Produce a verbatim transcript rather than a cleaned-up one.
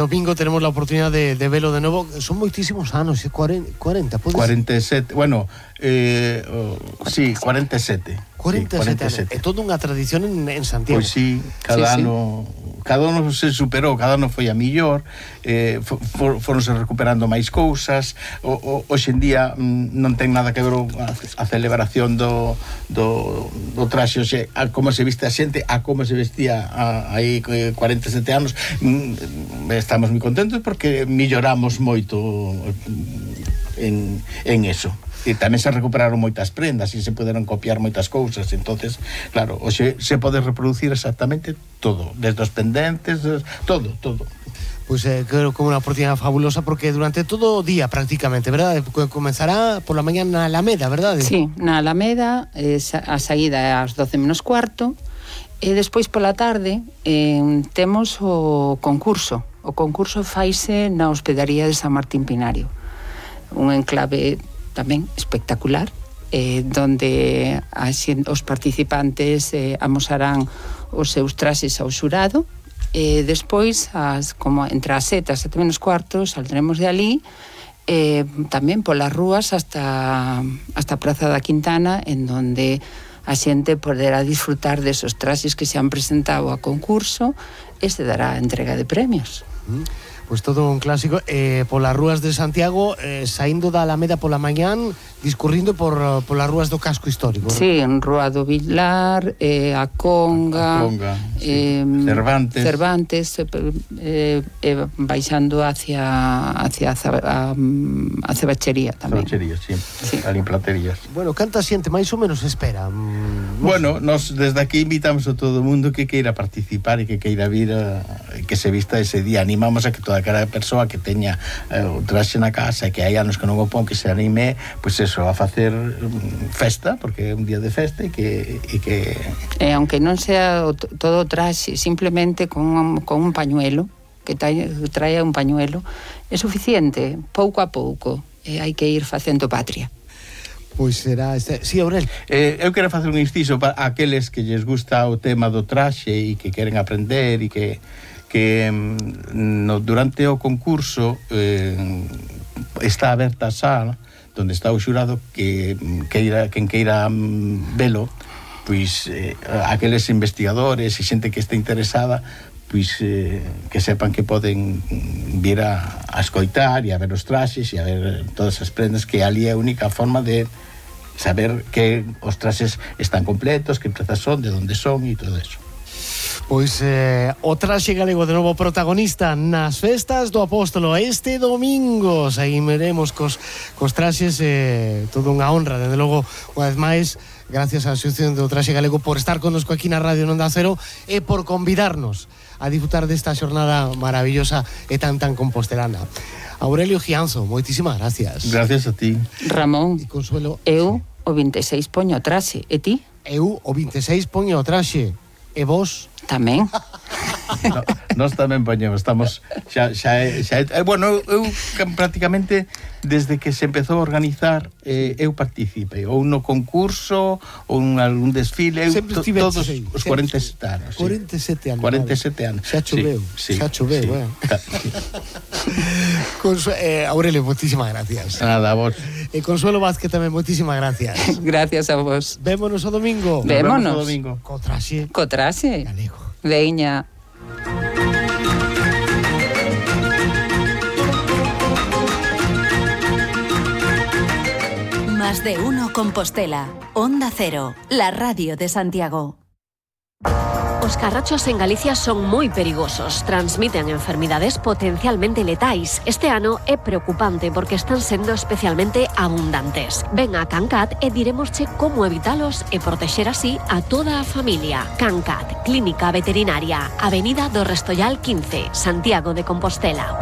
Domingo tenemos la oportunidad de, de verlo de nuevo. Son moitísimos anos, cuarenta, pode ser? cuarenta e sete, bueno, eh, oh, sí, cuarenta e sete. cuarenta e sete anos. É toda unha tradición en, en Santiago. Pois sí, cada sí, ano sí. cada ano se superou, cada ano foi a millor, eh, for, foronse recuperando máis cousas. O, o, hoxe en día mm, non ten nada que ver a, a celebración do, do, do traxe, oxe, a como se viste a xente, a como se vestía a, aí cuarenta e sete anos. Mm, estamos moi contentos porque milloramos moito en, en eso. E tamén se recuperaron moitas prendas e se poderon copiar moitas cousas. Entonces, claro, hoxe se pode reproducir exactamente todo, desde os pendentes, todo, todo. Pois pues, eh, creo que é unha oportunidade fabulosa porque durante todo o día prácticamente, verdade? Comenzará por la mañá na Alameda, verdade? Sí, na Alameda, eh, a saída é ás doce menos cuarto, e despois pola tarde eh, temos o concurso. O concurso faise na hospedaría de San Martín Pinario, un enclave tamén espectacular, eh, donde as, os participantes eh, amosarán os seus traxes ao xurado, e despois as, como entre as sete, as sete menos cuarto saldremos de ali, eh, tamén polas rúas hasta, hasta a Praza da Quintana, en donde a xente poderá disfrutar desos traxes que se han presentado a concurso e se dará a entrega de premios. Mm. Pois pues todo un clásico, eh, polas rúas de Santiago, eh, saindo da Alameda pola mañán, discurrindo por polas rúas do casco histórico. Sí, en Rúa do Vilar, eh, a Conga, a Conga eh, sí. Cervantes, Cervantes eh, eh, baixando hacia hacia a, a Cebachería tamén. Cebachería, sí, sí. A Limplaterías. Bueno, canta xente máis ou menos espera? Mm, bueno, nos desde aquí invitamos a todo o mundo que queira participar e que queira vir a, que se vista ese día. Animamos a que toda cada persoa que teña eh, o traxe na casa e que hai anos que non o pon, que se anime, pois eso, a facer um, festa, porque é un día de festa e que... E que... E aunque non sea o, todo o traxe, simplemente con, con un pañuelo, que trae, trae un pañuelo, é suficiente, pouco a pouco, e hai que ir facendo patria. Pois será este... Sí, Aurel. Eh, eu quero facer un inciso para aqueles que lles gusta o tema do traxe e que queren aprender e que que no, durante o concurso eh, está aberta a sala donde está o xurado que queira, quen queira velo, pois eh, aqueles investigadores e xente que este interesada, pois eh, que sepan que poden vir a, a escoitar e a ver os traxes e a ver todas as prendas, que ali é a única forma de saber que os traxes están completos, que prendas son, de onde son e todo eso. Pois eh, o traxe galego de novo protagonista nas festas do Apóstolo este domingo. Seguiremos cos, cos traxes, eh, todo unha honra, desde logo, unha vez máis, gracias á Asociación do Traxe Galego por estar connosco aquí na Radio Onda Cero e por convidarnos a disfrutar desta xornada maravillosa e tan tan compostelana. Aurelio Gianzo, moitísimas gracias. Gracias a ti. Ramón, e Consuelo, eu o vinte e seis poño o traxe, e ti? Eu o vinte e seis poño o traxe. E vos? Tamén. No, nós tamén poñemos, estamos xa, xa, xa, xa bueno, eu, eu prácticamente desde que se empezou a organizar eh, eu participei ou no concurso ou en algún desfile, eu to, todos sí, os cuarenta e sete anos. cuarenta e sete anos. cuarenta e sete anos. Xa choveu, sí, xa choveu, sí, bueno. Consu eh, Aurelio, moitísimas gracias. Nada, a vos. E Consuelo Vázquez tamén, moitísimas gracias. Gracias a vos. Vémonos o domingo. Vémonos. o domingo. Co traxe. Co traxe. Galego. Veña. Más de uno Compostela. Onda Cero, la radio de Santiago. Os carrachos en Galicia son moi perigosos, transmiten enfermidades potencialmente letais. Este ano é preocupante porque están sendo especialmente abundantes. Ven a Cancat e diremosche como evitalos e protexer así a toda a familia. Cancat, Clínica Veterinaria, Avenida do Restollal quince, Santiago de Compostela.